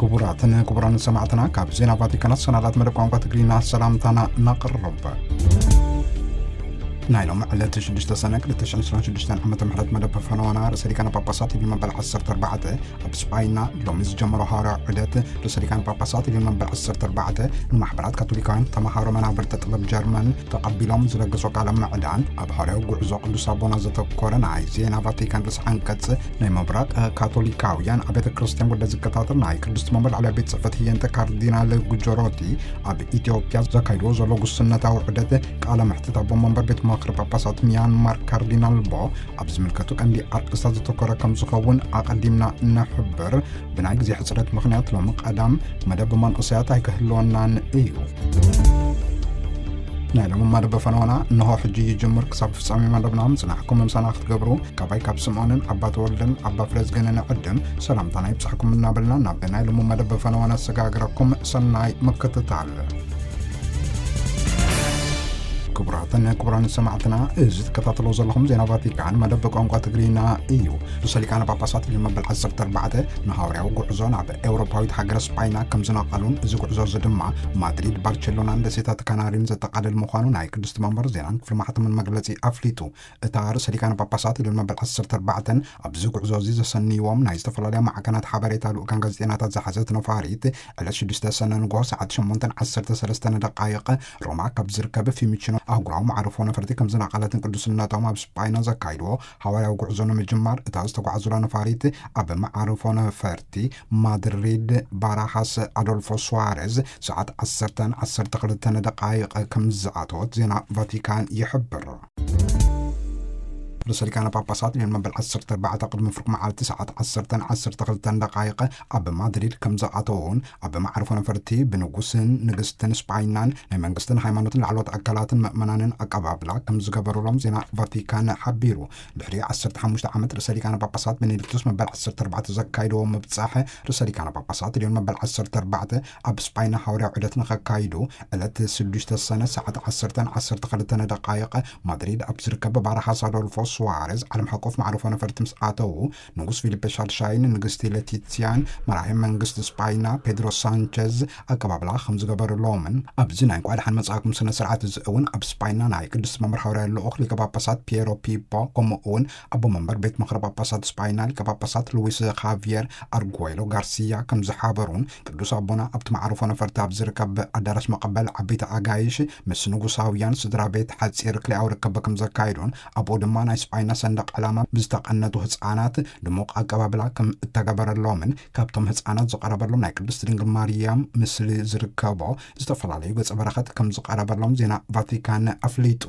ክቡራትን ክቡራን ሰማዕትና፣ ካብ ዜና ቫቲካናት ሰናዳት መደብ ቋንቋ ትግርኛ ሰላምታና ነቕርብ። ናይ ሎም ዕለት ሽዱሽተ ሰነ ክልተ ሽሕን ዕስራን ሽዱሽተን ዓመተ ምህረት መደብ ፈነዋና ርእሰ ሊቃነ ጳጳሳት ልዮን መበል ዓሰርተ ኣርባዕተ ኣብ ስጳይና ሎሚ ዝጀመሮ ሃዋርያዊ ዑደት ርእሰ ሊቃነ ጳጳሳት ልዮን መበል ዓሰርተ ኣርባዕተ ንማሕበራት ካቶሊካውያን ተማሃሮ መናብርቲ ጥበብ ጀርመን ተቐቢሎም ዝለገሶ ቃለ ምዕዳን ኣብ ሃዋርያዊ ጉዕዞ ቅዱስ ኣቦና ዘተኮረ ናይ ዜና ቫቲካን ርእሰ ዓንቀጽ ናይ ምብራቕ ካቶሊካውያን ኣብ ቤተ ክርስቲያን ጉዳይ ዝከታተል ናይ ቅድስቲ መንበር ላዕለዋይ ቤት ጽሕፈት ህየንተ ካርዲናል ጉጆሮቲ ኣብ ኢትዮጵያ ዘካይድዎ ዘሎ ጉስነታዊ ዑደት ቃለ መሕትት ኣቦ መንበር ቤት ምኽሪ ጳጳሳት ሚያንማር ካርዲናል ቦ ኣብ ዝምልከቱ ቀንዲ ኣርእስታት ዘተኮረ ከም ዝኸውን ኣቐዲምና ነሕብር። ብናይ ግዜ ሕጽረት ምኽንያት ሎሚ ቀዳም መደብ መንእሰያት ኣይክህልወናን እዩ። ናይ ሎሚ መደብ ፈነወና እንሆ ሕጂ ይጅምር። ክሳብ ፍጻሜ መደብና ምጽናሕኩም ምሳና ክትገብሩ ካባይ ካብ ስምዖንን ኣባ ተወልደን ኣባ ፍረዝገንን ዕድም ሰላምታና ይብጻሕኩም እናበልና ናብ ናይ ሎሚ መደብ ፈነወና ኣሰጋግረኩም። ሰናይ ምክትታል። ክቡራትን ክቡራን ሰማዕትና፣ እዚ ትከታተሎ ዘለኹም ዜና ቫቲካን መደብ ቋንቋ ትግርኛ እዩ። ርእሰ ሊቃነ ጳጳሳት ልዮን መበል ዓሰርተ ኣርባዕተ ንሃዋርያዊ ጉዕዞ ናብ ኤውሮፓዊት ሃገረ ስጳይና ከም ዝነቐሉን እዚ ጉዕዞ እዚ ድማ ማድሪድ፣ ባርቸሎናን ደሴታት ካናሪን ዘጠቓልል ምዃኑ ናይ ቅድስቲ መንበር ዜናን ክፍሊ ማሕተምን መግለጺ ኣፍሊጡ። እታ ርእሰ ሊቃነ ጳጳሳት ልዮን መበል ዓሰርተ ኣርባዕተን ኣብዚ ጉዕዞ እዚ ዘሰንይዎም ናይ ዝተፈላለያ ማዕከናት ሓበሬታ ልኡካን ጋዜጠኛታት ዝሓዘት ነፋሪት ዕለት ሽዱሽተ ሰነ ንግሆ ሰዓት ሸሞንተን ዓሰርተ ሰለስተን ደቃይቕ ሮማ ካብ ዝርከብ ፊሚቺኖ ኣህጉራዊ መዓርፎ ነፈርቲ ከም ዝነቐለትን ቅዱስነቶም ኣብ ስጳይና ዘካይድዎ ሃዋርያዊ ጉዕዞ ንምጅማር እታ ዝተጓዕዙላ ነፋሪት ኣብ መዓርፎ ነፈርቲ ማድሪድ ባራሃስ ኣዶልፎ ሱዋሬዝ ሰዓት ዓሰርተን ዓሰርተ ክልተን ደቃይቕ ከም ዝኣተወት ዜና ቫቲካን ይሕብር። ርእሰ ሊቃነ ጳጳሳት ልዮን መበል ዓሰርተ ኣርባዕተ ቅድሚ ፍርቂ መዓልቲ ሰዓት ዓሰርተን ዓሰርተ ክልተን ደቃይቕ ኣብ ማድሪድ ከም ዝኣተውን ኣብ መዓርፎ ነፈርቲ ብንጉስን ንግስትን ስጳይናን ናይ መንግስትን ሃይማኖትን ላዕለዎት ኣካላትን ምእመናንን ኣቀባብላ ከም ዝገበሩሎም ዜና ቫቲካን ሓቢሩ። ድሕሪ ዓሰርተ ሓሙሽተ ዓመት ርእሰ ሊቃነ ጳጳሳት ቤኔዲክቱስ መበል ዓሰርተ ኣርባዕተ ዘካይድዎ ምብጻሕ ርእሰ ሊቃነ ጳጳሳት ልዮን መበል ዓሰርተ ኣርባዕተ ኣብ ስጳይና ሃዋርያዊ ዑደት ንኸካይዱ ዕለት ሽዱሽተ ሰነ ሰዓት ዓሰርተን ዓሰርተ ክልተን ደቃይቕ ማድሪድ ኣብ ዝርከብ ባራሃስ ኣዶልፎ ሱዋሬዝ ዓለም ሓቆፍ መዕርፎ ነፈርቲ ምስ ኣተዉ፣ ንጉስ ፊሊፔ ሻድሻይን ንግስቲ ሌቲትስያን መራሒ መንግስቲ ስጳይና ፔድሮ ሳንቸዝ ኣቀባብላ ከም ዝገበሩሎምን ኣብዚ ናይ እንኳዕ ደሓን መጻእኩም ስነ ስርዓት እዚ እውን ኣብ ስጳይና ናይ ቅድስቲ መንበር ሃዋርያዊ ልኡኽ ሊቀ ጳጳሳት ፒየሮ ፒፖ ከምኡ እውን ኣቦ መንበር ቤት ምኽሪ ጳጳሳት ስጳይና ሊቀ ጳጳሳት ሉዊስ ኻቪየር ኣርጉዌሎ ጋርሲያ ከም ዝሓበሩን ቅዱስ ኣቦና ኣብቲ መዓርፎ ነፈርቲ ኣብ ዝርከብ ኣዳራሽ መቐበል ዓበይቲ ኣጋይሽ ምስ ንጉሳውያን ስድራ ቤት ሓጺር ክልኣዊ ርክብ ከም ዘካየዱን ኣብኡ ድማ ናይ ስጳይና ሰንደቕ ዕላማ ብዝተቐነቱ ህጻናት ድሙቕ ኣቀባብላ ከም እተገበረሎምን ካብቶም ህጻናት ዝቐረበሎም ናይ ቅድስቲ ድንግል ማርያም ምስሊ ዝርከቦ ዝተፈላለዩ ገጸ በረኸት ከም ዝቐረበሎም ዜና ቫቲካን ኣፍሊጡ።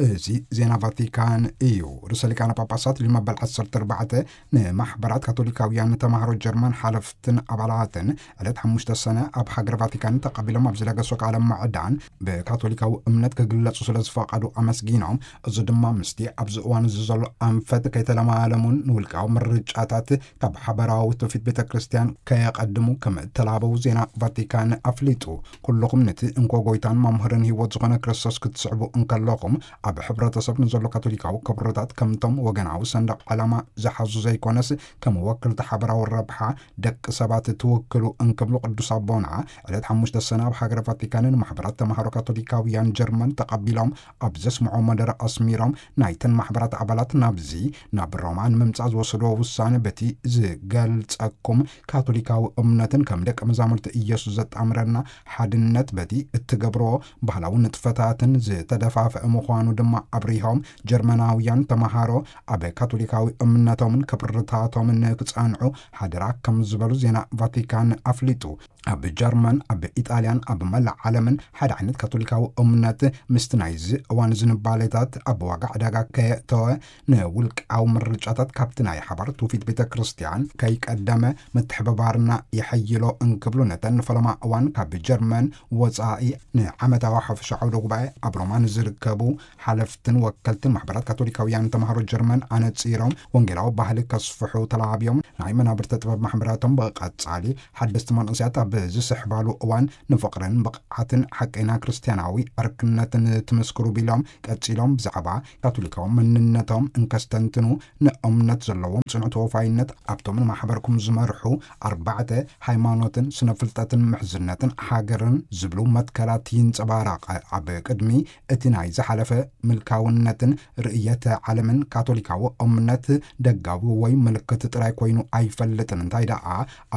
እዚ ዜና ቫቲካን እዩ። ርእሰ ሊቃነ ጳጳሳት ልዮን መበል ዓሰርተ ኣርባዕተ ንማሕበራት ካቶሊካውያን ተማሃሮ ጀርመን ሓለፍትን ኣባላትን ዕለት ሓሙሽተ ሰነ ኣብ ሃገር ቫቲካን ተቐቢሎም ኣብ ዝለገሶ ቃለ ምዕዳን ብካቶሊካዊ እምነት ክግለጹ ስለ ዝፈቐዱ ኣመስጊኖም፣ እዚ ድማ ምስቲ ኣብዚ እዋን እዚ ዘሎ ኣንፈት ከይተለማለሙን ንውልቃዊ ምርጫታት ካብ ሓበራዊ ትውፊት ቤተ ክርስቲያን ከየቐድሙ ከም እተላበው ዜና ቫቲካን ኣፍሊጡ። ኩልኹም ነቲ እንኮ ጎይታን መምህርን ህይወት ዝኾነ ክርስቶስ ክትስዕቡ እንከለኹም፣ ኣብ ሕብረተሰብ ንዘሎ ካቶሊካዊ ክብርታት ከምቶም ወገናዊ ሰንደቕ ዕላማ ዝሓዙ ዘይኮነስ፣ ከም ወክልቲ ሓበራዊ ረብሓ ደቂ ሰባት ትውክሉ እንክብሉ ቅዱስ ኣቦና ዕለት ሓሙሽተ ሰነ ኣብ ሃገረ ቫቲካን ንማሕበራት ተማሃሮ ካቶሊካውያን ጀርመን ተቐቢሎም ኣብ ዘስምዖ መደረ ኣስሚሮም፣ ናይተን ማሕበራት ኣባላት ናብዚ ናብ ሮማ ንምምጻእ ዝወሰድዎ ውሳነ በቲ ዝገልጸኩም ካቶሊካዊ እምነትን ከም ደቂ መዛሙርቲ ኢየሱስ ዘጣምረና ሓድነት በቲ እትገብርዎ ባህላዊ ንጥፈታትን ዝተደፋፍአ ምዃኑ ድማ ኣብሪሆም፣ ጀርመናውያን ተማሃሮ ኣብ ካቶሊካዊ እምነቶምን ክብርታቶምን ክጸንዑ ሓደራ ከም ዝበሉ ዜና ቫቲካን ኣፍሊጡ። ኣብ ጀርመን፣ ኣብ ኢጣልያን፣ ኣብ መላእ ዓለምን ሓደ ዓይነት ካቶሊካዊ እምነት ምስቲ ናይዚ እዋን ዝንባሌታት ኣብ ዋጋ ዕዳጋ ከየእተወ፣ ንውልቃዊ ምርጫታት ካብቲ ናይ ሓባር ትውፊት ቤተ ክርስቲያን ከይቀደመ፣ ምትሕብባርና የሐይሎ እንክብሉ፣ ነተን ንፈለማ እዋን ካብ ጀርመን ወጻኢ ንዓመታዊ ሓፈሻ ዓውደ ጉባኤ ኣብ ሮማ ንዝርከቡ ሓለፍትን ወከልትን ማሕበራት ካቶሊካውያን ተምሃሮ ጀርመን ኣነጺሮም፣ ወንጌላዊ ባህሊ ከስፍሑ ተላብዮም፣ ናይ መናብርተ ጥበብ ማሕበራቶም ብቐጻሊ ሓደስቲ መንእሰያት ኣብ ዝስሕባሉ እዋን ንፍቕርን ብቕዓትን ሓቀይና ክርስትያናዊ ዕርክነትን ትምስክሩ ቢሎም፣ ቀጺሎም ብዛዕባ ካቶሊካዊ መንነቶም እንከስተንትኑ፣ ንእምነት ዘለዎም ጽኑዕ ተወፋይነት ኣብቶም ንማሕበርኩም ዝመርሑ ኣርባዕተ ሃይማኖትን ስነ ፍልጠትን ምሕዝነትን ሃገርን ዝብሉ መትከላት ይንጸባረቕ። ኣብ ቅድሚ እቲ ናይ ዝሓለፈ ምልካውነትን ርእየተ ዓለምን ካቶሊካዊ እምነት ደጋዊ ወይ ምልክት ጥራይ ኮይኑ ኣይፈልጥን። እንታይ ደኣ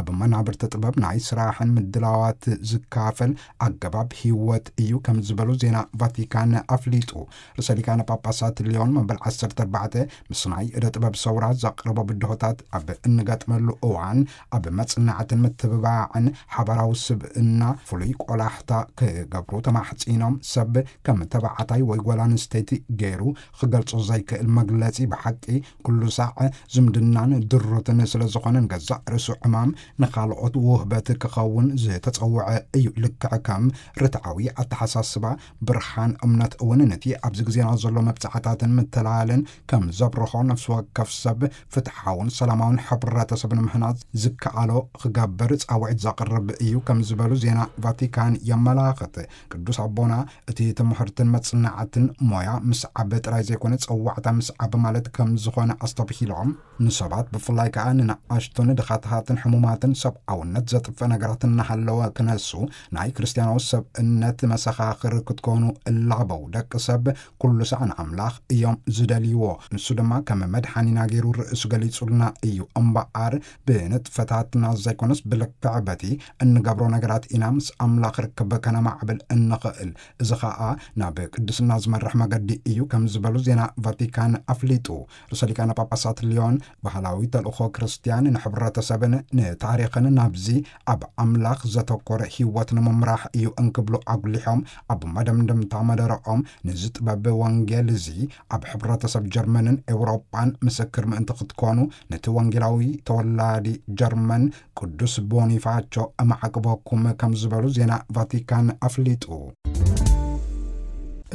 ኣብ መናብርቲ ጥበብ ናይ ስራሕን ምድላዋት ዝካፈል ኣገባብ ህይወት እዩ ከም ዝበሉ ዜና ቫቲካን ኣፍሊጡ። ርእሰ ሊቃነ ጳጳሳት ሊዮን መበል ዓሰርተ ኣርባዕተ ምስ ናይ እደ ጥበብ ሰውራ ዘቕረቦ ብድሆታት ኣብ እንገጥመሉ እዋን ኣብ መጽናዕትን ምትብባዕን ሓባራዊ ስብእና ፍሉይ ቆላሕታ ክገብሩ ተማሕጺኖም። ሰብ ከም ተባዕታይ ወይ ጓል ኣንስተይቲ ገይሩ ክገልጾ ዘይክእል መግለጺ ብሓቂ ኩሉ ሳዕ ዝምድናን ድሩትን ስለ ዝኾነ ንገዛእ ርእሱ ዕማም ንኻልኦት ውህበት ክኸውን ዝተጸውዐ እዩ። ልክዕ ከም ርትዓዊ ኣተሓሳስባ ብርሃን እምነት እውን ነቲ ኣብዚ ግዜና ዘሎ መብጽዓታትን ምትላልን ከም ዘብርሆ ነፍሲ ወከፍ ሰብ ፍትሓውን ሰላማውን ሕብረተሰብ ንምህናጽ ዝከኣሎ ክገብር ጻውዒት ዘቕርብ እዩ ከም ዝበሉ ዜና ቫቲካን የመላኽት። ቅዱስ ኣቦና እቲ ትምህርትን መጽናዕትን ሞያ ምስዓብ ጥራይ ዘይኮነ ጸዋዕታ ምስዓብ ማለት ከም ዝኾነ ኣስተብሂሎም፣ ንሰባት ብፍላይ ከኣ ንንኣሽቱን ድኻታትን ሕሙማትን ሰብኣውነት ዘጥፍእ ነገራት እናሃለወ ክነሱ ናይ ክርስትያናዊ ሰብእነት መሰኻኽር ክትኮኑ እላበው። ደቂ ሰብ ኩሉ ሳዕ ንኣምላኽ እዮም ዝደልይዎ። ንሱ ድማ ከም መድሓኒና ገይሩ ርእሱ ገሊጹልና እዩ። እምበኣር ብንጥፈታትና ዘይኮነስ ብልክዕ በቲ እንገብሮ ነገራት ኢና ምስ ኣምላኽ ርክብ ከነማዕብል እንኽእል። እዚ ኸኣ ናብ ቅድስና ዝመርሕ መገዲ እዩ ከም ዝበሉ ዜና ቫቲካን ኣፍሊጡ። ርእሰ ሊቃነ ጳጳሳት ሊዮን ባህላዊ ተልእኾ ክርስትያን ንሕብረተሰብን ንታሪኽን ናብዚ ኣብ ኣምላኽ ዘተኮረ ህይወት ንምምራሕ እዩ እንክብሉ ኣጉሊሖም፣ ኣብ መደምደምታ መደረኦም ነዚ ጥበብ ወንጌል እዚ ኣብ ሕብረተሰብ ጀርመንን ኤውሮጳን ምስክር ምእንቲ ክትኮኑ ነቲ ወንጌላዊ ተወላዲ ጀርመን ቅዱስ ቦኒፋቾ እማዕቅበኩም ከም ዝበሉ ዜና ቫቲካን ኣፍሊጡ።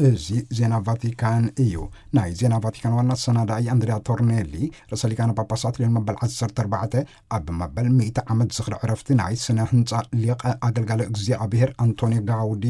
እዚ ዜና ቫቲካን እዩ። ናይ ዜና ቫቲካን ዋና ኣሰናዳኢ ኣንድሪያ ቶርኔሊ ርእሰ ሊቃነ ጳጳሳት ሊዮን መበል ዓሰርተ ኣርባዕተ ኣብ መበል ሚእቲ ዓመት ዝኽሪ ዕረፍቲ ናይ ስነ ህንጻ ሊቀ ኣገልጋሊ እግዚኣብሔር ኣንቶኒ ጋውዲ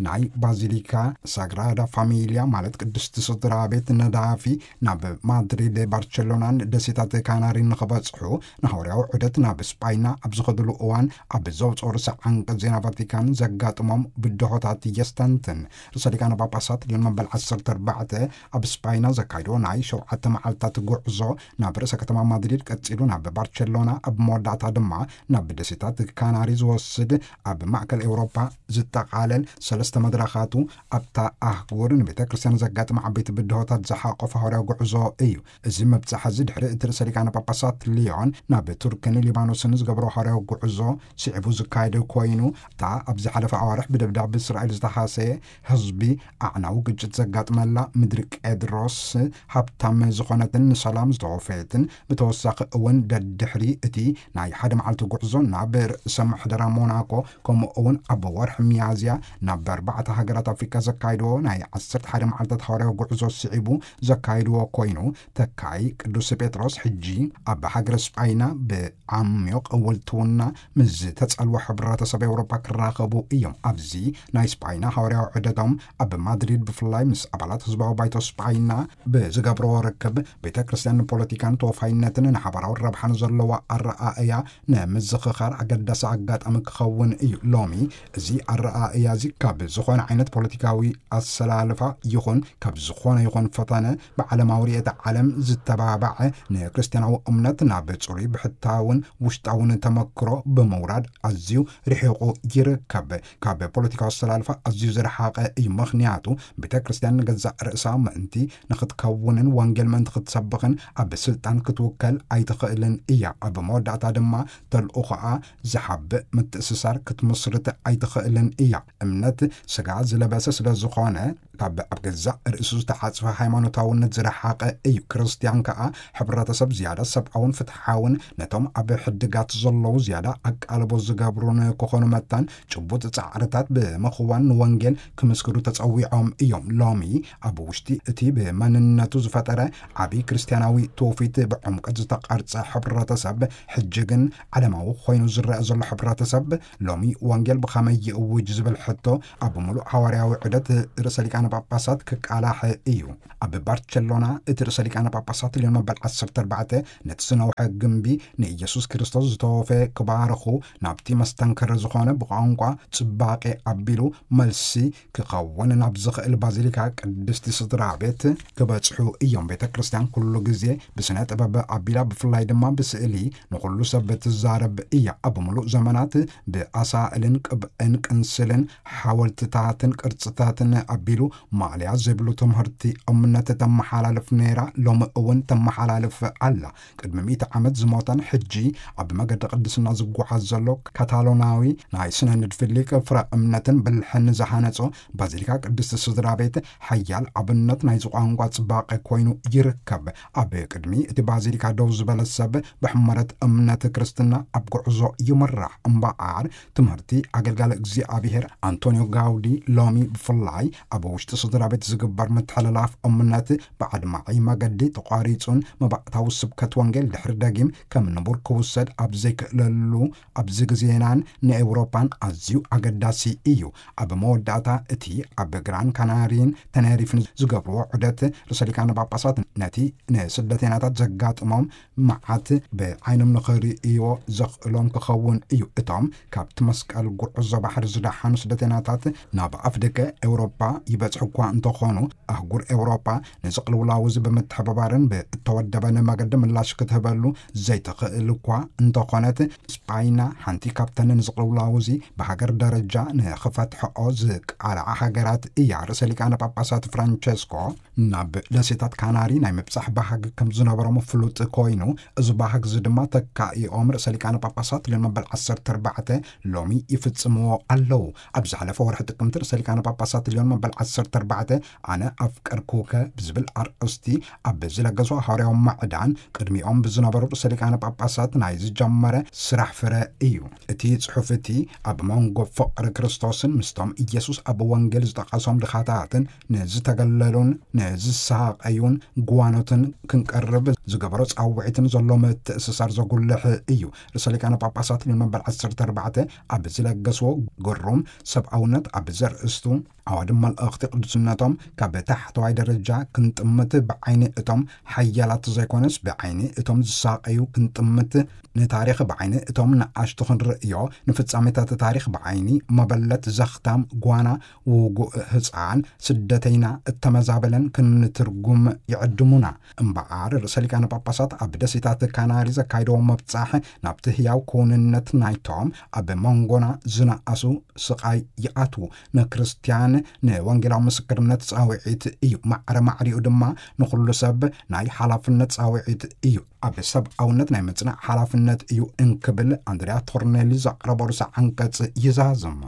ናይ ባዚሊካ ሳግራዳ ፋሚልያ ማለት ቅድስቲ ስድራ ቤት ነዳፊ ናብ ማድሪድ፣ ባርቸሎናን ደሴታት ካናሪን ንኽበጽሑ ንሃዋርያዊ ዑደት ናብ ስጳይና ኣብ ዝኸድሉ እዋን ኣብ ዘውፅኦ ርእሰ ዓንቀጽ ዜና ቫቲካን ዘጋጥሞም ብድሆታት የስተንትን። ርእሰ ሊቃነ ጳጳሳት ሊዮን መበል ዓሰርተ ኣርባዕተ ኣብ ስጳይና ዘካይዶ ናይ ሸውዓተ መዓልታት ጉዕዞ ናብ ርእሰ ከተማ ማድሪድ ቀጺሉ ናብ ባርቸሎና ኣብ መወዳእታ ድማ ናብ ደሴታት ካናሪ ዝወስድ ኣብ ማእከል ኤውሮፓ ዝጠቓለል ሰለስተ መድረኻቱ ኣብታ ኣህጉር ንቤተ ክርስቲያን ዘጋጥም ዓበይቲ ብድሆታት ዝሓቆፈ ሃዋርያዊ ጉዕዞ እዩ። እዚ ምብጻሕ እዚ ድሕሪ እቲ ርእሰ ሊቃነ ጳጳሳት ሊዮን ናብ ቱርክን ሊባኖስን ዝገብሮ ሃዋርያዊ ጉዕዞ ስዒቡ ዝካየደ ኮይኑ፣ እታ ኣብ ዝሓለፈ ኣዋርሕ ብደብዳብ እስራኤል ዝተሃሰየ ህዝቢ ኣዕናዊ ግጭት ዘጋጥመላ ምድሪ ቄድሮስ ሃብታም ዝኾነትን ንሰላም ዝተወፈየትን፣ ብተወሳኺ እውን ደድሕሪ እቲ ናይ ሓደ መዓልቲ ጉዕዞ ናብ ርእሰ ምሕደራ ሞናኮ ከምኡ እውን ኣብ ወርሒ ሚያዝያ ናብ ኣርባዕተ ሃገራት ኣፍሪቃ ዘካይድዎ ናይ ዓሰርተ ሓደ መዓልታት ሃዋርያዊ ጉዕዞ ስዒቡ ዘካይድዎ ኮይኑ፣ ተካይ ቅዱስ ጴጥሮስ ሕጂ ኣብ ሃገረ ስጳይና ብዓሚቕ እወልትውና ምስ ዝተጸልወ ሕብረተሰብ ኤውሮጳ ክራኸቡ እዮም። ኣብዚ ናይ ስጳይና ሃዋርያዊ ዑደቶም ኣብ ማድሪድ ብፍላይ ምስ ኣባላት ህዝባዊ ባይቶ ስጳይና ብዝገብርዎ ርክብ ቤተ ክርስቲያን ንፖለቲካን ተወፋይነትን ንሓባራዊ ረብሓን ዘለዋ ኣረኣእያ ንምዝኽኻር ኣገዳሲ ኣጋጣሚ ክኸውን እዩ። ሎሚ እዚ ኣረኣእያ እዚ ካብ ዝኾነ ዓይነት ፖለቲካዊ ኣሰላልፋ ይኹን ካብ ዝኾነ ይኹን ፈተነ ብዓለማዊ ርእየተ ዓለም ዝተባባዐ ንክርስቲያናዊ እምነት ናብ ጽሩይ ብሕታውን ውሽጣውን ተመክሮ ብምውራድ ኣዝዩ ርሒቑ ይርከብ። ካብ ፖለቲካዊ ኣሰላልፋ ኣዝዩ ዝረሓቐ እዩ። ምኽንያቱ ቤተ ክርስቲያን ንገዛእ ርእሳ ምእንቲ ንኽትከውንን ወንጌል ምእንቲ ክትሰብኽን ኣብ ስልጣን ክትውከል ኣይትኽእልን እያ። ኣብ መወዳእታ ድማ ተልእኾኣ ዝሓብእ ምትእስሳር ክትምስርት ኣይትኽእልን እያ። እምነት ስጋ ዝለበሰ ስለ ዝኾነ፣ ካብ ኣብ ገዛእ ርእሱ ዝተሓጽፈ ሃይማኖታውነት ዝረሓቐ እዩ። ክርስትያን ከኣ ሕብረተሰብ ዝያዳ ሰብኣውን ፍትሓውን፣ ነቶም ኣብ ሕድጋት ዘለዉ ዝያዳ ኣቃልቦ ዝገብሩን ክኾኑ መታን፣ ጭቡጥ ጻዕርታት ብምኽዋን ንወንጌል ክምስክሩ ተጸዊዖም እዮም። ሎሚ ኣብ ውሽጢ እቲ ብመንነቱ ዝፈጠረ ዓቢ ክርስትያናዊ ትውፊት ብዕምቀት ዝተቐርጸ ሕብረተሰብ፣ ሕጂ ግን ዓለማዊ ኮይኑ ዝረአ ዘሎ ሕብረተሰብ፣ ሎሚ ወንጌል ብኸመይ ይእውጅ ዝብል ሕቶ ኣብ ምሉእ ሃዋርያዊ ዑደት ርእሰ ሊቃነ ጳጳሳት ክቃላሕ እዩ። ኣብ ባርቸሎና እቲ ርእሰ ሊቃነ ጳጳሳት ልዮን መበል ዓሰርተ ኣርባዕተ ነቲ ዝነውሐ ግምቢ ንኢየሱስ ክርስቶስ ዝተወፈ ክባርኹ ናብቲ መስተንክር ዝኾነ ብቋንቋ ጽባቄ ኣቢሉ መልሲ ክኸውን ናብ ዝኽእል ባዚሊካ ቅድስቲ ስድራ ቤት ክበጽሑ እዮም። ቤተ ክርስቲያን ኩሉ ግዜ ብስነ ጥበብ ኣቢላ፣ ብፍላይ ድማ ብስእሊ ንኹሉ ሰብ ትዛረብ እያ። ኣብ ምሉእ ዘመናት ብኣሳእልን ቅብእን ቅንስልን ሓወልትታትን ቅርጽታትን ኣቢሉ ማእለያ ዘይብሉ ትምህርቲ እምነት ተመሓላልፍ ነይራ፣ ሎሚ እውን ተመሓላልፍ ኣላ። ቅድሚ ሚእቲ ዓመት ዝሞተን ሕጂ ኣብ መገዲ ቅድስና ዝጓዓዝ ዘሎ ካታሎናዊ ናይ ስነ ንድፊ ሊቅ፣ ፍረ እምነትን ብልሕን ዝሃነጾ ባዚሊካ ቅድስቲ ስድራ ቤት ሓያል ኣብነት ናይዚ ቋንቋ ጽባቐ ኮይኑ ይርከብ። ኣብ ቅድሚ እቲ ባዚሊካ ደው ዝበለ ሰብ ብሕመረት እምነት ክርስትና ኣብ ጉዕዞ ይምራሕ። እምበኣር ትምህርቲ ኣገልጋሊ እግዚኣብሔር ኣንቶኒዮ ጋውዲ ሎሚ ብፍላይ ኣብ ውሽጢ ስድራ ቤት ዝግበር ምትሕልላፍ እምነት ብኣድማዒ መገዲ ተቋሪጹን መባእታዊ ስብከት ወንጌል ድሕሪ ደጊም ከም ንቡር ክውሰድ ኣብ ዘይክእለሉ ኣብዚ ግዜናን ንኤውሮጳን ኣዝዩ ኣገዳሲ እዩ። ኣብ መወዳእታ እቲ ኣብ ግራን ካናሪን ተነሪፍን ዝገብርዎ ዑደት ርእሰ ሊቃነ ጳጳሳት ነቲ ንስደተይናታት ዘጋጥሞም መዓት ብዓይኖም ንኽርእይዎ ዘኽእሎም ክኸውን እዩ። እቶም ካብቲ መስቀል ጉዕዞ ባሕሪ ዝደሓኑ ስደተይናታት ናብ ኣፍደገ ኤውሮጳ ይበጽሑ እኳ እንተኾኑ፣ ኣህጉር ኤውሮጳ ነዚ ቅልውላው እዚ ብምትሕብባርን ብእተወደበን መገዲ ምላሽ ክትህበሉ ዘይትኽእል እኳ እንተኾነት፣ ስጳይና ሓንቲ ካብተን ነዚ ቅልውላው እዚ ብሃገር ደረጃ ንኽፈትሕኦ ዝቃልዓ ሃገራት እያ። ርእሰ ሊቃነ ጳጳሳት ፍራንቸስኮ ናብ ደሴታት ካናሪ ናይ ምብጻሕ ባህጊ ከም ዝነበሮም ፍሉጥ ኮይኑ፣ እዚ ባህጊ እዚ ድማ ተካኢኦም ርእሰ ሊቃነ ጳጳሳት ልዮን መበል ዓሰርተ ኣርባዕተ ሎሚ ይፍጽምዎ ኣለዉ። ኣብ ዝሓለፈ ወርሒ ጥቅምቲ ርእሰ ሊቃነ ጳጳሳት ልዮን መበል ዓሰርተ ኣርባዕተ ኣነ ኣፍቀርኩከ ብዝብል ኣርእስቲ ኣብ ዝለገሱ ሃዋርያዊ ማዕዳን ቅድሚኦም ብዝነበሩ ርእሰ ሊቃነ ጳጳሳት ናይ ዝጀመረ ስራሕ ፍረ እዩ። እቲ ጽሑፍ እቲ ኣብ መንጎ ፍቕሪ ክርስቶስን ምስቶም ኢየሱስ ኣብ ወንጌል ዝጠቐሶም ድኻታትን ንዝተገለሉን ንዝሳቐዩን ጓኖትን ክንቀርብ ዝገበሮ ጻውዒትን ዘሎ ምትእስሳር ዘጉልሕ እዩ። ርእሰ ሊቃነ ጳጳሳት ልዮን መበል ዓሰርተ ኣርባዕተ ኣብ ዝለገስዎ ግሩም ሰብኣውነት ኣብ ዘርእስቱ ኣዋዲ መልእኽቲ ቅዱስነቶም ካብ ታሕተዋይ ደረጃ ክንጥምት ብዓይኒ እቶም ሓያላት ዘይኮነስ ብዓይኒ እቶም ዝሳቐዩ ክንጥምት፣ ንታሪኽ ብዓይኒ እቶም ንኣሽቱ ክንርእዮ፣ ንፍጻሜታት ታሪኽ ብዓይኒ መበለት ዘኽታም ጓና ውጉእ ህጻን ስደተይና እተመዛበለን ክንትርጉም ይዕድሙና። እምበኣር ርእሰ ሊቃነ ጳጳሳት ኣብ ደሴታት ካናሪ ዘካይደዎ መብጻሕ ናብቲ ህያው ክውንነት ናይቶም ኣብ መንጎና ዝነኣሱ ስቓይ ይኣትዉ። ንክርስትያን ንወንጌላዊ ምስክርነት ጻውዒት እዩ። ማዕረ ማዕሪኡ ድማ ንኹሉ ሰብ ናይ ሓላፍነት ጻውዒት እዩ። ኣብ ሰብኣውነት ናይ ምጽናዕ ሓላፍነት እዩ እንክብል ኣንድሪያ ቶርኔሊ ዘቕረቦ ርእሰ ዓንቀጽ ይዛዝም።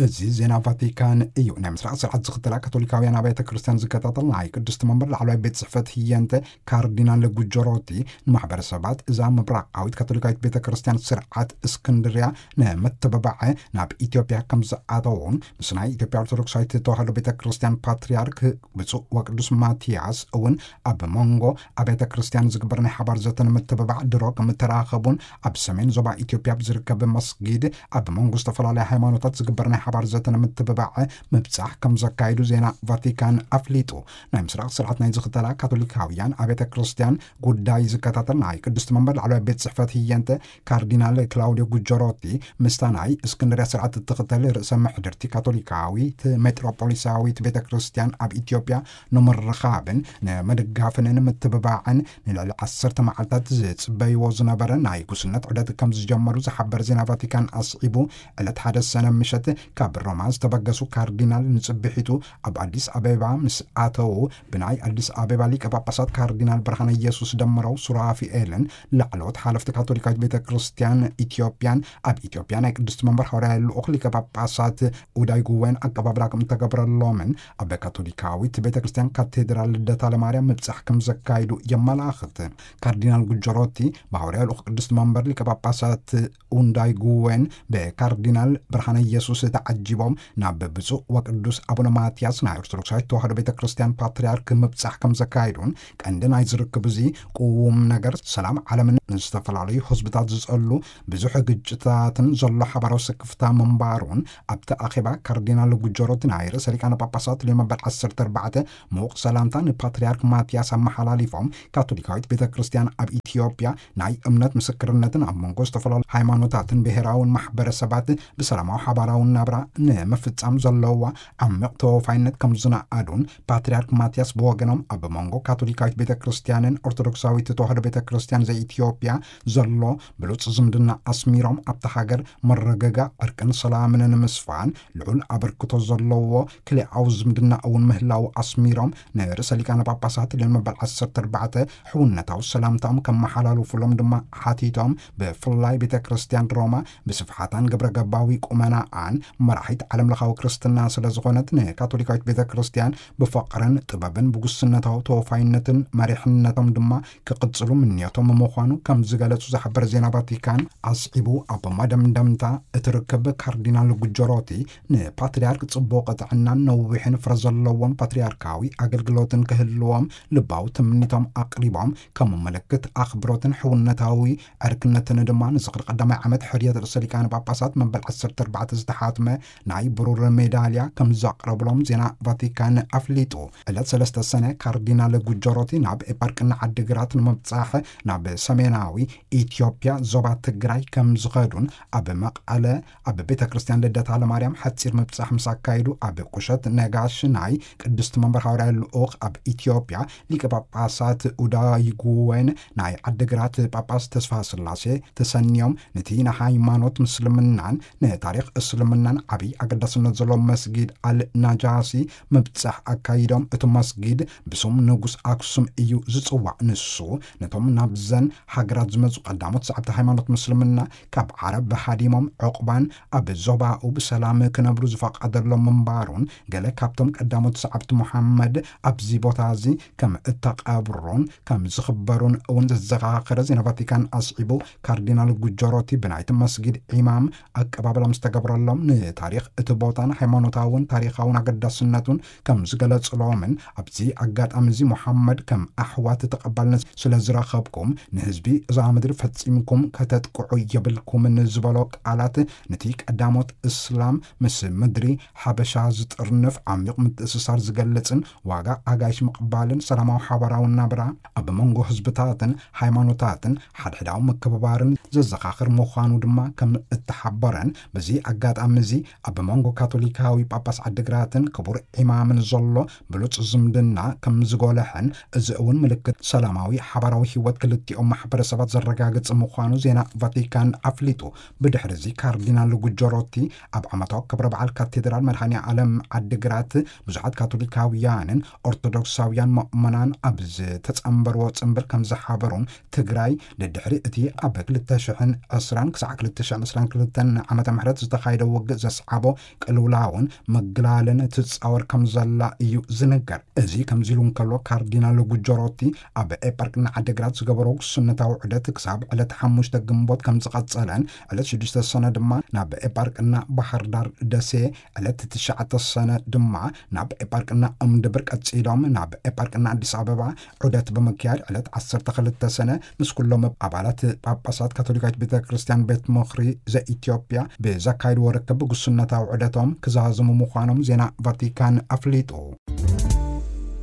እዚ ዜና ቫቲካን እዩ። ናይ ምስራቕ ስርዓት ዝኽተላ ካቶሊካውያን ኣብያተ ክርስቲያን ዝከታተል ናይ ቅድስቲ መንበር ላዕለዋይ ቤት ጽሕፈት ህየንተ ካርዲናል ጉጆሮቲ ንማሕበረሰባት እዛ ምብራቓዊት ካቶሊካዊት ቤተ ክርስቲያን ስርዓት እስክንድርያ ንምትብባዕ ናብ ኢትዮጵያ ከም ዝኣተውን ምስ ናይ ኢትዮጵያ ኦርቶዶክሳዊት ተዋህዶ ቤተ ክርስቲያን ፓትርያርክ ብፁዕ ወቅዱስ ማትያስ እውን ኣብ መንጎ ኣብያተ ክርስቲያን ዝግበር ናይ ሓባር ዘተ ንምትብባዕ ድሮ ከም እተራኸቡን ኣብ ሰሜን ዞባ ኢትዮጵያ ኣብ ዝርከብ መስጊድ ኣብ መንጎ ዝተፈላለያ ሃይማኖታት ዝግበር ናይ ሓባር ዘተ ንምትብባዕ ምብጻሕ ከም ዘካየዱ ዜና ቫቲካን ኣፍሊጡ። ናይ ምስራቕ ስርዓት ናይ ዝኽተላ ካቶሊካውያን ኣብያተ ክርስቲያን ጉዳይ ዝከታተል ናይ ቅድስቲ መንበር ላዕለዋይ ቤት ጽሕፈት ህየንተ ካርዲናል ክላውዲዮ ጉጀሮቲ ምስታ ናይ እስክንድርያ ስርዓት እትኽተል ርእሰ ምሕድርቲ ካቶሊካዊት ሜትሮፖሊሳዊት ቤተ ክርስቲያን ኣብ ኢትዮጵያ ንምርኻብን ንምድጋፍን ንምትብባዕን ንልዕሊ ዓሰርተ መዓልታት ዝጽበይዎ ዝነበረ ናይ ጉስነት ዑደት ከም ዝጀመሩ ዝሓበር ዜና ቫቲካን ኣስዒቡ፣ ዕለት ሓደ ሰነ ምሸት ካብ ሮማ ዝተበገሱ ካርዲናል ንጽብሒቱ ኣብ ኣዲስ ኣበባ ምስ ኣተዉ፣ ብናይ ኣዲስ ኣበባ ሊቀ ጳጳሳት ካርዲናል ብርሃነ ኢየሱስ ደመረው ሱራፊኤልን ላዕለዎት ሓለፍቲ ካቶሊካዊት ቤተ ክርስቲያን ኢትዮጵያን ኣብ ኢትዮጵያ ናይ ቅድስቲ መንበር ሃዋርያ ልኡኽ ሊቀ ጳጳሳት ኡዳይ ጉዌን ኣቀባብላ ከም እተገብረሎምን ኣብ ካቶሊካዊት ቤተ ክርስቲያን ካቴድራል ልደታ ለማርያም ምብጻሕ ከም ዘካይዱ የመላኽት። ካርዲናል ጉጀሮቲ ብሃዋርያ ልኡኽ ቅድስቲ መንበር ሊቀ ጳጳሳት ኡንዳይ ጉዌን ብካርዲናል ብርሃነ ኢየሱስ ተዓጂቦም ናብ ብፁዕ ወቅዱስ ኣቡነ ማትያስ ናይ ኦርቶዶክሳዊት ተዋህዶ ቤተ ክርስቲያን ፓትርያርክ ምብጻሕ ከም ዘካይዱን፣ ቀንዲ ናይ ዝርክብ እዚ ቅዉም ነገር ሰላም ዓለምን ንዝተፈላለዩ ህዝብታት ዝጸሉ ብዙሕ ግጭታትን ዘሎ ሓባራዊ ስክፍታ ምንባሩን፣ ኣብቲ ኣኼባ ካርዲናል ጉጀሮቲ ናይ ርእሰ ሊቃነ ጳጳሳት ሊዮ መበል ዓሰርተ ኣርባዕተ ምዉቕ ሰላምታ ንፓትርያርክ ማትያስ ኣመሓላሊፎም፣ ካቶሊካዊት ቤተ ክርስቲያን ኣብ ኢትዮጵያ ናይ እምነት ምስክርነትን ኣብ መንጎ ዝተፈላለዩ ሃይማኖታትን ብሔራውን ማሕበረሰባት ብሰላማዊ ሓባራውን ናብራ ንምፍጻም ዘለዋ ዓሚቕ ተወፋይነት ከም ዝነኣዱን፣ ፓትርያርክ ማትያስ ብወገኖም ኣብ መንጎ ካቶሊካዊት ቤተ ክርስቲያንን ኦርቶዶክሳዊት ተዋህዶ ቤተ ክርስቲያን ዘኢትዮጵያ ዘሎ ብሉጽ ዝምድና ኣስሚሮም፣ ኣብታ ሃገር መረጋጋእ፣ ዕርቅን ሰላምን ንምስፋን ልዑል ኣበርክቶ ዘለዎ ክልኣዊ ዝምድና እውን ምህላው ኣስሚሮም፣ ንርእሰ ሊቃነ ጳጳሳት ሊዮን መበል ዓሰርተ ኣርባዕተ ሕውነታዊ ሰላምታኦም ከመሓላልፉሎም ድማ ሓቲቶም፣ ብፍላይ ቤተ ክርስቲያን ሮማ ብስፍሓታን ግብረ ገባዊ ቁመናኣን መራሒት ዓለም ለኻዊ ክርስትና ስለ ዝኾነት፣ ንካቶሊካዊት ቤተ ክርስቲያን ብፍቕርን ጥበብን ብጉስነታዊ ተወፋይነትን መሪሕነቶም ድማ ክቕጽሉ ምንዮቶም ምዃኑ ከም ዝገለጹ ዝሕብር ዜና ቫቲካን ኣስዒቡ፣ ኣብ መደምደምታ እቲ ርክብ ካርዲናል ጉጀሮቲ ንፓትርያርክ ጽቡቕ ጥዕናን ነዊሕን ፍረ ዘለዎን ፓትርያርካዊ ኣገልግሎትን ክህልዎም ልባዊ ትምኒቶም ኣቕሪቦም፣ ከም ምልክት ኣኽብሮትን ሕውነታዊ ዕርክነትን ድማ ንዝኽሪ ቀዳማይ ዓመት ሕርየት ርእሰ ሊቃነ ጳጳሳት መበል ዓሰርተ ኣርባዕተ ዝተሓትመ ናይ ብሩር ሜዳልያ ከም ዘቕረብሎም ዜና ቫቲካን ኣፍሊጡ። ዕለት ሰለስተ ሰነ ካርዲናል ጉጀሮቲ ናብ ኤፓርቅና ዓዲግራት ንምብጻሕ ናብ ሰሜናዊ ኢትዮጵያ ዞባ ትግራይ ከም ዝኸዱን፣ ኣብ መቐለ ኣብ ቤተ ክርስቲያን ልደታ ለማርያም ሓጺር ምብጻሕ ምስ ኣካይዱ፣ ኣብ ቁሸት ነጋሽ ናይ ቅድስቲ መንበር ሃዋርያ ልኡኽ ኣብ ኢትዮጵያ ሊቀ ጳጳሳት ኡዳይጉዌን ናይ ዓዲግራት ጳጳስ ተስፋ ስላሴ ተሰንዮም፣ ነቲ ንሃይማኖት ምስልምናን ንታሪኽ እስልምናን ዓብዪ ኣገዳስነት ዘለዎ መስጊድ ኣል ናጃሲ ምብጻሕ ኣካይዶም። እቲ መስጊድ ብስም ንጉስ ኣክሱም እዩ ዝጽዋዕ። ንሱ ነቶም ናብዘን ሃገራት ዝመጹ ቀዳሞት ሰዓብቲ ሃይማኖት ምስልምና ካብ ዓረብ ሃዲሞም ዑቕባን ኣብ ዞባኡ ብሰላም ክነብሩ ዝፈቐደሎም ምንባሩን፣ ገለ ካብቶም ቀዳሞት ሰዓብቲ ሙሓመድ ኣብዚ ቦታ እዚ ከም እተቐብሩን ከም ዝኽበሩን እውን ዘዘኻኸረ ዜና ቫቲካን ኣስዒቡ፣ ካርዲናል ጉጀሮቲ ብናይቲ መስጊድ ኢማም ኣቀባብላ ምስ ተገብረሎም፣ ንታሪኽ እቲ ቦታን ሃይማኖታውን ታሪኻውን ኣገዳስነቱን ከም ዝገለጽሎምን፣ ኣብዚ ኣጋጣሚ እዚ ሙሓመድ ከም ኣሕዋት ተቐባልነት ስለ ዝረኸብኩም፣ ንህዝቢ እዛ ምድሪ ፈጺምኩም ከተጥቅዑ የብልኩምን ዝበሎ ቃላት፣ ነቲ ቀዳሞት እስላም ምስ ምድሪ ሓበሻ ዝጥርንፍ ዓሚቕ ምትእስሳር ዝገልጽን ዋጋ ኣጋይሽ ምቕባልን ሰላማዊ ሓባራዊ ናብራ ኣብ መንጎ ህዝብታትን ሃይማኖታትን ሓድሕዳዊ ምክብባርን ዘዘኻኽር ምዃኑ ድማ ከም እተሓበረን፣ በዚ ኣጋጣሚ እዚ ኣብ መንጎ ካቶሊካዊ ጳጳስ ዓዲግራትን ክቡር ኢማምን ዘሎ ብሉጽ ዝምድና ከም ዝጎልሐን፣ እዚ እውን ምልክት ሰላማዊ ሓባራዊ ህይወት ክልቲኦም ማሕበረሰባት ዘረጋግጽ ምዃኑ ዜና ቫቲካን ኣፍሊጡ። ብድሕሪ እዚ ካርዲናል ጉጀሮቲ ኣብ ዓመታዊ ክብረ በዓል ካቴድራል መድኃኔ ዓለም ዓዲግራት ብዙሓት ካቶሊካውያንን ኦርቶዶክሳውያን ምእመናን ኣብ ዝተጸንበርዎ ጽንብል ከም ዝሓበሩን፣ ትግራይ ድድሕሪ እቲ ኣብ ክልተ ሽሕን ዕስራን ክሳዕ ክልተ ሽሕን ዕስራን ክልተን ዓመተ ምህረት ዝተኻየደ ውግእ ዘስዓቦ ቅልውላውን ምግላልን ትጻወር ከም ዘላ እዩ ዝንገር። እዚ ከምዚ ኢሉ እንከሎ፣ ካርዲናል ጉጀሮቲ ኣብ ኤጳርቅና ዓዲግራት ዝገበሮ ጉስነታዊ ዑደት ክሳብ ዕለት ሓሙሽተ ግንቦት ከም ዝቐጸለን፣ ዕለት ሽዱሽተ ሰነ ድማ ናብ ኤጳርቅና ባህር ዳር ደሴ፣ ዕለት ትሽዓተ ሰነ ድማ ናብ ኤጳርቅና እምድብር ቀጺሎም ናብ ኤጳርቅና ኣዲስ ኣበባ ዑደት ብምክያድ፣ ዕለት ዓሰርተ ክልተ ሰነ ምስ ኩሎም ኣባላት ጳጳሳት ካቶሊካዊት ቤተ ክርስቲያን ቤት ምኽሪ ዘኢትዮጵያ ብዘካየድዎ ርክብ ጉስነታዊ ዑደቶም ክዛዝሙ ምዃኖም ዜና ቫቲካን ኣፍሊጡ።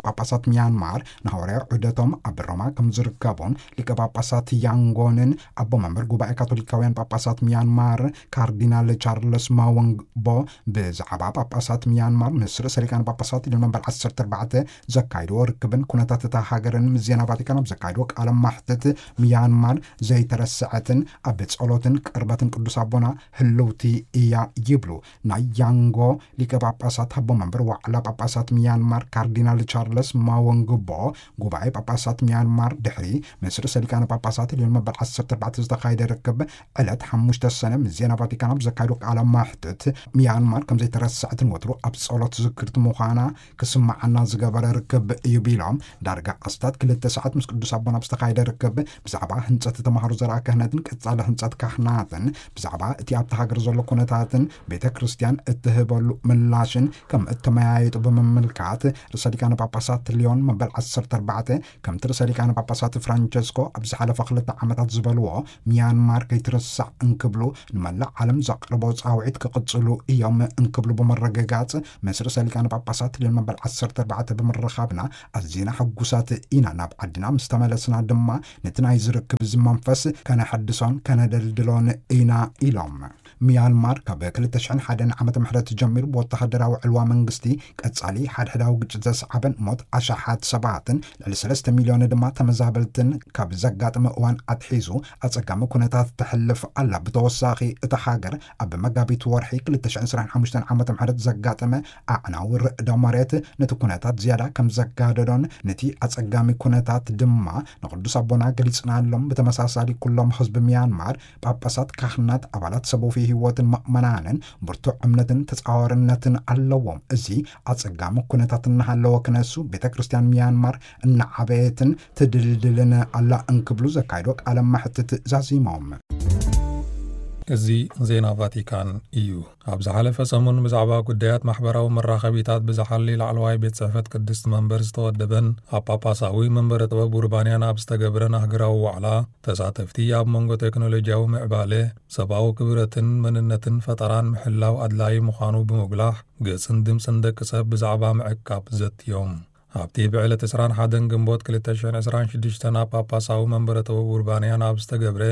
ጳጳሳት ሚያንማር ንሃዋርያዊ ዑደቶም ኣብ ሮማ ከም ዝርከቡን፣ ሊቀ ጳጳሳት ያንጎንን ኣቦ መንበር ጉባኤ ካቶሊካውያን ጳጳሳት ሚያንማር ካርዲናል ቻርለስ ማወንግቦ ብዛዕባ ጳጳሳት ሚያንማር ምስ ርእሰ ሊቃነ ጳጳሳት ልዮን መበል ዓሰርተ ኣርባዕተ ዘካይድዎ ርክብን ኩነታት እታ ሃገርን ምስ ዜና ቫቲካን ኣብ ዘካይድዎ ቃለ ማሕትት፣ ሚያንማር ዘይተረስዐትን ኣብ ጸሎትን ቅርበትን ቅዱስ ኣቦና ህልውቲ እያ ይብሉ። ናይ ያንጎ ሊቀ ጳጳሳት ኣቦ መንበር ዋዕላ ጳጳሳት ሚያንማር ካርዲናል ቻርለስ ማወንግቦ፣ ጉባኤ ጳጳሳት ሚያንማር ድሕሪ ምስ ርእሰ ሊቃነ ጳጳሳት ልዮን መበል ዓሰርተ ኣርባዕተ ዝተኻየደ ርክብ ዕለት ሓሙሽተ ሰነ ምስ ዜና ቫቲካን ኣብ ዘካየዱ ቃለ ማሕትት፣ ሚያንማር ከም ዘይተረስዐትን ወትሩ ኣብ ጸሎት ዝክርቲ ምዃና ክስምዓና ዝገበረ ርክብ እዩ ቢሎም፣ ዳርጋ ኣስታት ክልተ ሰዓት ምስ ቅዱስ ኣቦና ኣብ ዝተኻየደ ርክብ ብዛዕባ ህንጸት ተምሃሮ ዘርኣ ክህነትን ቀጻሊ ህንጸት ካህናትን፣ ብዛዕባ እቲ ኣብቲ ሃገር ዘሎ ኩነታትን ቤተ ክርስቲያን እትህበሉ ምላሽን ከም እተመያየጡ ብምምልካት፣ ርእሰ ሊቃነ ጳጳሳት ልዮን መበል ዓሰርተ ኣርባዕተ ከምቲ ርእሰ ሊቃነ ጳጳሳት ፍራንቸስኮ ኣብ ዝሓለፈ ክልተ ዓመታት ዝበልዎ፣ ሚያንማር ከይትርሳዕ እንክብሉ ንመላእ ዓለም ዘቕርቦ ጻውዒት ክቕጽሉ እዮም እንክብሉ ብምርግጋጽ፣ ምስ ርእሰ ሊቃነ ጳጳሳት ልዮን መበል ዓሰርተ ኣርባዕተ ብምርኻብና ኣዚና ሕጉሳት ኢና። ናብ ዓድና ምስ ተመለስና ድማ ነቲ ናይ ዝርክብ እዚ መንፈስ ከነሐድሶን ከነደልድሎን ኢና ኢሎም። ሚያንማር ካብ ክልተ ሽሕን ሓደን ዓመተ ምህረት ጀሚሩ ብወተሃደራዊ ዕልዋ መንግስቲ ቀጻሊ ሓድሕዳዊ ግጭት ዘስዓበን ሞት ኣሽሓት ሰባትን ልዕሊ ሰለስተ ሚልዮን ድማ ተመዛበልትን ካብ ዘጋጠመ እዋን ኣትሒዙ ኣጸጋሚ ኩነታት ተሕልፍ ኣላ። ብተወሳኺ እታ ሃገር ኣብ መጋቢት ወርሒ ክልተ ሽሕን ዕስራን ሓሙሽተን ዓመተ ምህረት ዘጋጠመ ኣዕናዊ ርዕደ መሬት ነቲ ኩነታት ዝያዳ ከም ዘጋደዶን ነቲ ኣጸጋሚ ኩነታት ድማ ንቅዱስ ኣቦና ገሊጽናሎም። ብተመሳሳሊ ኩሎም ህዝቢ ሚያንማር ጳጳሳት፣ ካህናት፣ ኣባላት ሰብ ወፍይ ህይወትን ምእመናንን ብርቱዕ እምነትን ተጻዋርነትን ኣለዎም። እዚ ኣጸጋሚ ኩነታት እናሃለወ ክነሱ ቤተ ክርስቲያን ሚያንማር እናዓበየትን ትድልድልን ኣላ እንክብሉ ዘካይዶ ቃለ መሕትት ዛዚሞም። እዚ ዜና ቫቲካን እዩ። ኣብ ዝሓለፈ ሰሙን ብዛዕባ ጉዳያት ማሕበራዊ መራኸቢታት ብዝሓሊ ላዕለዋይ ቤት ጽሕፈት ቅድስቲ መንበር ዝተወደበን ኣብ ጳጳሳዊ መንበረ ጥበብ ኡርባንያን ኣብ ዝተገብረን ኣህግራዊ ዋዕላ ተሳተፍቲ ኣብ መንጎ ቴክኖሎጂያዊ ምዕባለ፣ ሰብኣዊ ክብረትን መንነትን ፈጠራን ምሕላው ኣድላዪ ምዃኑ ብምጉላሕ፣ ገጽን ድምጽን ደቂ ሰብ ብዛዕባ ምዕቃብ ዘትዮም። ኣብቲ ብዕለት ዕስራን ሓደን ግንቦት ክልተ ሽሕን ዕስራን ሽዱሽተን ኣብ ጳጳሳዊ መንበረ ጥበብ ኡርባንያን ኣብ ዝተገብረ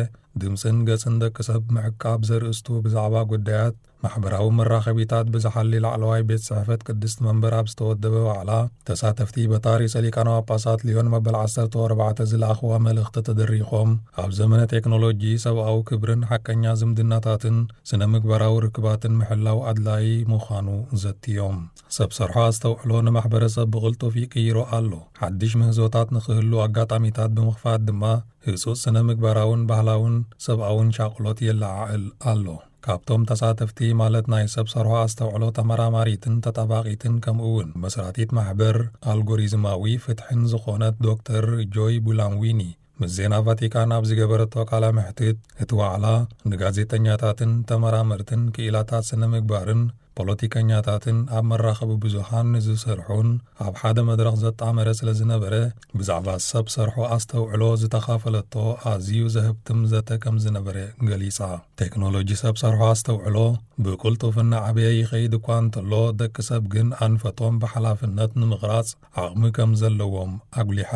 ድምጽን ገጽን ደቂ ሰብ ምዕቃብ ዘርእስቱ ብዛዕባ ጉዳያት ማሕበራዊ መራኸቢታት ብዝሓሊ ላዕለዋይ ቤት ጽሕፈት ቅድስቲ መንበር ኣብ ዝተወደበ ዋዕላ፣ ተሳተፍቲ በታ ርእሰ ሊቃነ ጳጳሳት ልዮን መበል ዓሰርተ ኣርባዕተ ዝለኣኽዋ መልእኽቲ ተደሪኾም፣ ኣብ ዘመነ ቴክኖሎጂ ሰብኣዊ ክብርን ሓቀኛ ዝምድናታትን ስነ ምግባራዊ ርክባትን ምሕላው ኣድላዪ ምዃኑ ዘትዮም። ሰብ ሰርሖ ኣስተውዕሎ ንማሕበረሰብ ብቕልጡፍ ይቅይሮ ኣሎ። ሓድሽ ምህዞታት ንኽህሉ ኣጋጣሚታት ብምኽፋት ድማ ህጹጽ ስነ ምግባራውን ባህላውን ሰብኣውን ሻቕሎት የለዓዕል ኣሎ። ካብቶም ተሳተፍቲ ማለት ናይ ሰብ ሰርሖ ኣስተውዕሎ ተመራማሪትን ተጣባቒትን ከምኡ እውን መስራቲት ማሕበር ኣልጎሪዝማዊ ፍትሕን ዝኾነት ዶክተር ጆይ ቡላምዊኒ ምስ ዜና ቫቲካን ኣብ ዝገበረቶ ቃለ መሕትት፣ እቲ ዋዕላ ንጋዜጠኛታትን ተመራመርትን ክኢላታት ስነ ምግባርን ፖለቲከኛታትን ኣብ መራኸቢ ብዙሃን ንዝሰርሑን ኣብ ሓደ መድረኽ ዘጣመረ ስለ ዝነበረ፣ ብዛዕባ ሰብ ሰርሖ ኣስተውዕሎ ዝተኻፈለቶ ኣዝዩ ዘህብትም ዘተ ከም ዝነበረ ገሊጻ። ቴክኖሎጂ ሰብ ሰርሖ ኣስተውዕሎ ብቕልጡፍ እናዓበየ ይኸይድ እኳ እንተሎ፣ ደቂ ሰብ ግን ኣንፈቶም ብሓላፍነት ንምቕራጽ ዓቕሚ ከም ዘለዎም ኣጉሊሓ።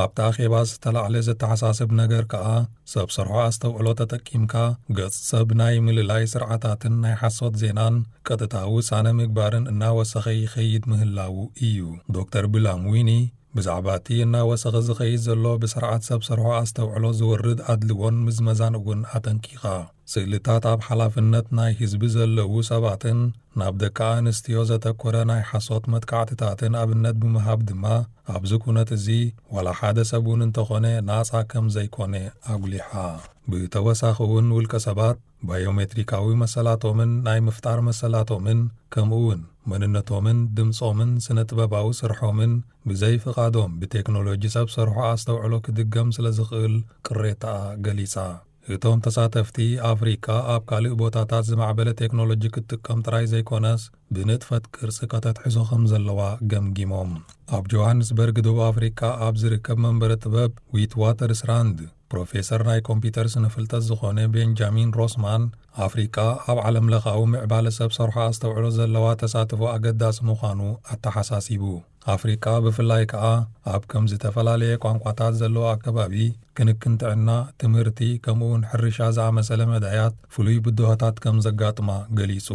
ኣብቲ ኣኼባ ዝተላዕለ ዘተሓሳስብ ነገር ከኣ፣ ሰብ ሰርሖ ኣስተውዕሎ ተጠቂምካ ገጽ ሰብ ናይ ምልላይ ስርዓታትን ናይ ሓሶት ዜናን ቀጥታዊ ውሳነ ምግባርን እናወሰኸ ይኸይድ ምህላዉ እዩ። ዶክተር ብላምዊኒ ብዛዕባ እቲ እናወሰኸ ዝኸይድ ዘሎ ብስርዓት ሰብ ሰርሖ ኣስተውዕሎ ዝወርድ ኣድልዎን ምዝመዛን እውን ኣጠንቂቓ። ስእልታት ኣብ ሓላፍነት ናይ ህዝቢ ዘለዉ ሰባትን ናብ ደቂ ኣንስትዮ ዘተኮረ ናይ ሓሶት መጥቃዕትታትን ኣብነት ብምሃብ ድማ፣ ኣብዚ ኩነት እዚ ዋላ ሓደ ሰብ እውን እንተኾነ ናጻ ከም ዘይኮነ ኣጉሊሓ። ብተወሳኺ እውን ውልቀ ሰባት ባዮሜትሪካዊ መሰላቶምን ናይ ምፍጣር መሰላቶምን ከምኡ እውን መንነቶምን ድምጾምን ስነ ጥበባዊ ስርሖምን ብዘይ ፍቓዶም ብቴክኖሎጂ ሰብ ሰርሖ ኣስተውዕሎ ክድገም ስለ ዝኽእል ቅሬታኣ ገሊጻ። እቶም ተሳተፍቲ፣ ኣፍሪቃ ኣብ ካልእ ቦታታት ዝማዕበለ ቴክኖሎጂ ክትጥቀም ጥራይ ዘይኮነስ፣ ብንጥፈት ቅርጺ ከተትሕዞ ከም ዘለዋ ገምጊሞም። ኣብ ጆሃንስበርግ፣ ደቡብ ኣፍሪቃ ኣብ ዝርከብ መንበረ ጥበብ ዊት ዋተርስራንድ፣ ፕሮፌሰር ናይ ኮምፒተር ስነ ፍልጠት ዝኾነ ቤንጃሚን ሮስማን፣ ኣፍሪቃ ኣብ ዓለም ለኻዊ ምዕባለ ሰብ ሰርሖ ኣስተውዕሎ ዘለዋ ተሳትፎ ኣገዳሲ ምዃኑ ኣተሓሳሲቡ። ኣፍሪቃ ብፍላይ ከኣ ኣብ ከም ዝተፈላለየ ቋንቋታት ዘለዎ ኣከባቢ ክንክን ጥዕና፣ ትምህርቲ፣ ከምኡውን ሕርሻ ዝኣመሰለ መዳያት ፍሉይ ብድሆታት ከም ዘጋጥማ ገሊጹ።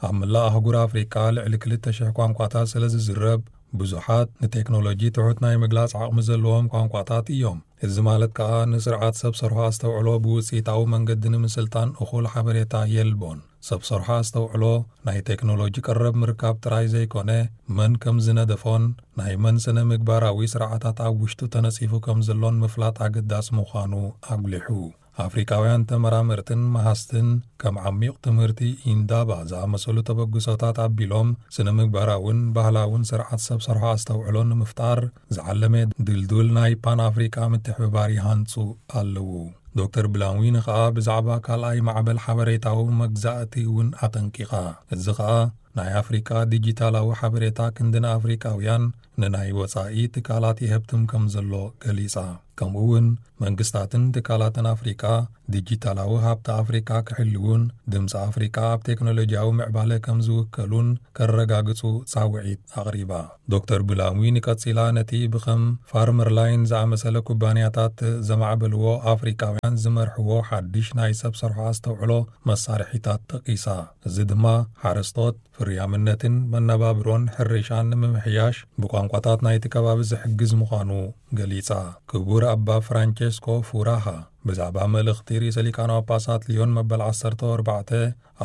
ኣብ መላእ ኣህጉር ኣፍሪቃ ልዕሊ ክልተ ሽሕ ቋንቋታት ስለ ዝዝረብ፣ ብዙሓት ንቴክኖሎጂ ትሑት ናይ ምግላጽ ዓቕሚ ዘለዎም ቋንቋታት እዮም። እዚ ማለት ከኣ ንስርዓት ሰብ ሰርሖ ኣስተውዕሎ ብውጽኢታዊ መንገዲ ንምስልጣን እኹል ሓበሬታ የልቦን። ሰብ ሰርሖ ኣስተውዕሎ ናይ ቴክኖሎጂ ቀረብ ምርካብ ጥራይ ዘይኮነ፣ መን ከም ዝነደፎን ናይ መን ስነ ምግባራዊ ስርዓታት ኣብ ውሽጡ ተነጺፉ ከም ዘሎን ምፍላጥ ኣገዳሲ ምዃኑ ኣጉሊሑ። ኣፍሪቃውያን ተመራመርትን መሃዝትን ከም ዓሚቕ ትምህርቲ ኢንዳባ ዝኣመሰሉ ተበግሶታት ኣቢሎም ስነ ምግባራውን ባህላውን ስርዓት ሰብ ሰርሖ ኣስተውዕሎ ንምፍጣር ዝዓለመ ድልዱል ናይ ፓን ኣፍሪቃ ምትሕብባር ይሃንጹ ኣለዉ። ዶክተር ብላንዊን ኸኣ ብዛዕባ ካልኣይ ማዕበል ሓበሬታዊ መግዛእቲ እውን ኣጠንቂቓ። እዚ ኸኣ ናይ ኣፍሪቃ ዲጂታላዊ ሓበሬታ ክንዲ ንኣፍሪቃውያን ንናይ ወጻኢ ትካላት ይህብትም ከም ዘሎ ገሊጻ። ከምኡ እውን መንግስታትን ትካላትን ኣፍሪቃ ዲጂታላዊ ሃብቲ ኣፍሪቃ ክሕልውን ድምፂ ኣፍሪቃ ኣብ ቴክኖሎጂያዊ ምዕባለ ከም ዝውከሉን ከረጋግጹ ጻውዒት ኣቕሪባ። ዶክተር ብላንዊን ቀጺላ ነቲ ብኸም ፋርመር ላይን ዝኣመሰለ ኩባንያታት ዘማዕበልዎ ኣፍሪቃውያን ዝመርሕዎ ሓድሽ ናይ ሰብ ሰርሖ ኣስተውዕሎ መሳርሒታት ጠቒሳ። እዚ ድማ ሓረስቶት ፍርያምነትን መነባብሮን ሕርሻን ንምምሕያሽ ብቋንቋታት ናይቲ ከባቢ ዝሕግዝ ምዃኑ ገሊጻ። ክቡር ኣባ ፍራንቸስኮ ፉራሃ ብዛዕባ መልእኽቲ ርእሰ ሊቃነ ጳጳሳት ሊዮን መበል ዓሰርተ ኣርባዕተ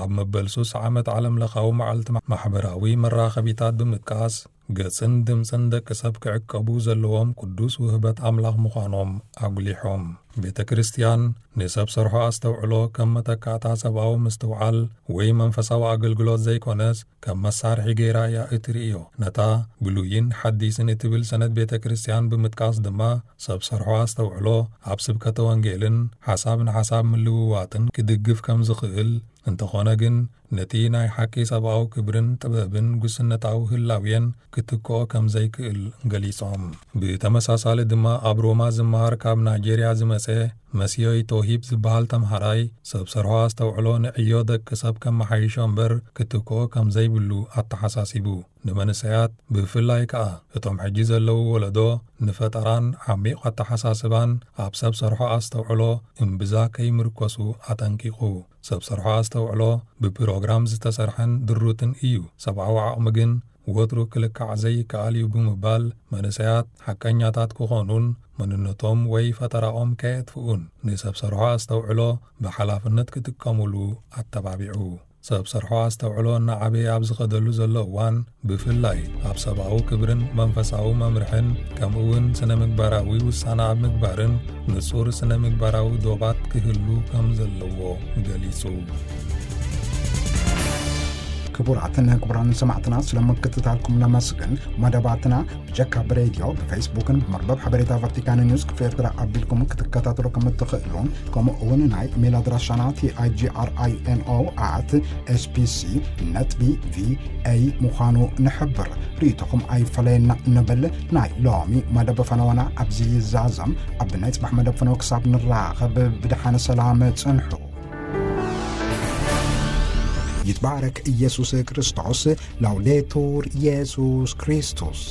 ኣብ መበል ሱስ ዓመት ዓለም ለኻዊ መዓልቲ ማሕበራዊ መራኸቢታት ብምጥቃስ፣ ገጽን ድምጽን ደቂ ሰብ ክዕቀቡ ዘለዎም ቅዱስ ውህበት ኣምላኽ ምዃኖም ኣጉሊሖም። ቤተ ክርስቲያን ንሰብ ሰርሖ ኣስተውዕሎ ከም መተካእታ ሰብኣዊ ምስትውዓል ወይ መንፈሳዊ ኣገልግሎት ዘይኮነስ፣ ከም መሳርሒ ገይራ እያ እትርእዮ። ነታ ብሉይን ሓዲስን እትብል ሰነድ ቤተ ክርስቲያን ብምጥቃስ ድማ፣ ሰብ ሰርሖ ኣስተውዕሎ ኣብ ስብከተ ወንጌልን ሓሳብ ንሓሳብ ምልውዋጥን ክድግፍ ከም ዝኽእል፣ እንተኾነ ግን ነቲ ናይ ሓቂ ሰብኣዊ ክብርን ጥበብን ጉስነታዊ ህላዌን ክትክኦ ከም ዘይክእል ገሊጾም። ብተመሳሳሊ ድማ ኣብ ሮማ ዝመሃር ካብ ናይጄርያ ዝመጸ መሲዮይ ቶሂብ ዝበሃል ተምሃራይ፣ ሰብ ሰርሖ ኣስተውዕሎ ንዕዮ ደቂ ሰብ ከመሓይሾ እምበር ክትክኦ ከም ዘይብሉ ኣተሓሳሲቡ። ንመንእሰያት ብፍላይ ከኣ እቶም ሕጂ ዘለዉ ወለዶ ንፈጠራን ዓሚቕ ኣተሓሳስባን ኣብ ሰብ ሰርሖ ኣስተውዕሎ እምብዛ ከይምርኮሱ ኣጠንቂቑ። ሰብ ሰርሖ ኣስተውዕሎ ብፕሮግራም ዝተሰርሐን ድሩትን እዩ። ሰብኣዊ ዓቕሚ ግን ወትሩ ክልካዕ ዘይከኣል እዩ ብምባል፣ መንእሰያት ሓቀኛታት ክኾኑን መንነቶም ወይ ፈጠራኦም ከየጥፍኡን ንሰብ ሰርሖ ኣስተውዕሎ ብሓላፍነት ክጥቀሙሉ ኣተባቢዑ። ሰብ ሰርሖ ኣስተውዕሎ እናዓበየ ኣብ ዝኸደሉ ዘሎ እዋን፣ ብፍላይ ኣብ ሰብኣዊ ክብርን መንፈሳዊ መምርሕን፣ ከምኡ እውን ስነ ምግባራዊ ውሳነ ኣብ ምግባርን ንጹር ስነ ምግባራዊ ዶባት ክህሉ ከም ዘለዎ ገሊጹ። ክቡራትን ክቡራን ሰማዕትና፣ ስለ ምክትታልኩም ነመስግን። መደባትና ብጀካ ብሬድዮ፣ ብፌስቡክን ብመርበብ ሓበሬታ ቫቲካን ኒውስ ክፍሊ ኤርትራ ኣቢልኩም ክትከታተሉ ከም እትኽእሉን፣ ከምኡ እውን ናይ ኢሜይል ኣድራሻና ቲ ኣይ ጂ ኣር ኣይ ኤን ኦ ኣት ኤስ ቢ ሲ ነጥቢ ቪ ኤ ምዃኑ ንሕብር። ርእይቶኹም ኣይፈለየና ንብል። ናይ ሎሚ መደብ ፈነወና ኣብዚ ይዛዘም። ኣብ ናይ ጽባሕ መደብ ፈነወ ክሳብ ንራኸብ ብደሓን ሰላም ጽንሑ። ይትባረክ ኢየሱስ ክርስቶስ። ላውዴቱር ኢየሱስ ክርስቶስ።